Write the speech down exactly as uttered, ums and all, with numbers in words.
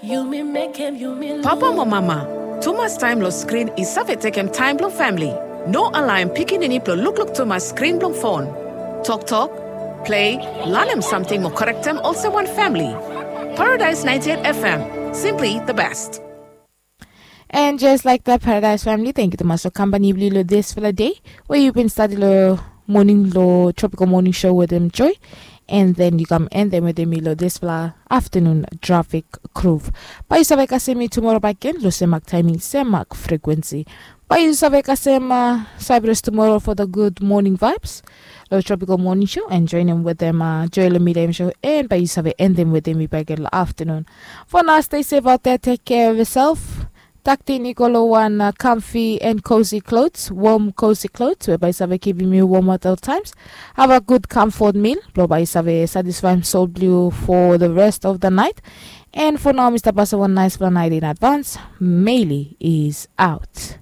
Yumi mekem yumi. Papa mo mama, tumas taem long skrin i save tekem taem blong famili. No alaem pikinini blong lukluk tumas skrin blong fon. Toktok, plei, lanem samting mo korektem olsem wan famili. Paradise ninety-eight F M, simply the best. And just like that, Paradise family, thank you tumas long kampani blong yu long dispela dei we yu bin stadi long moning long Tropical Morning Show wetem Joy. And then yu kam endem wetem mi long dispela afternoon traffic groove. Bae yu save kasem mi tumora bakegen long sem mak taiming, sem mak frekuensi. Bae yu save kasem uh, Cyprus tumora for the good morning vibes long Tropical Morning Show and joinim wetem uh, Joy long midtime show. And bae yu save endem wetem mi bakegen long afternoon. For now, stay safe out there. Take care of yourself. Taktin i go long wan uh, comfy and cozy clothes, warm cozy clothes, we bae save kipim yu warm at all times. Have a good comfort meal, blo bae save satisfaem soul blue for the rest of the night. And for now, Mr. Pasa, one nice fla night in advance. Meili is out.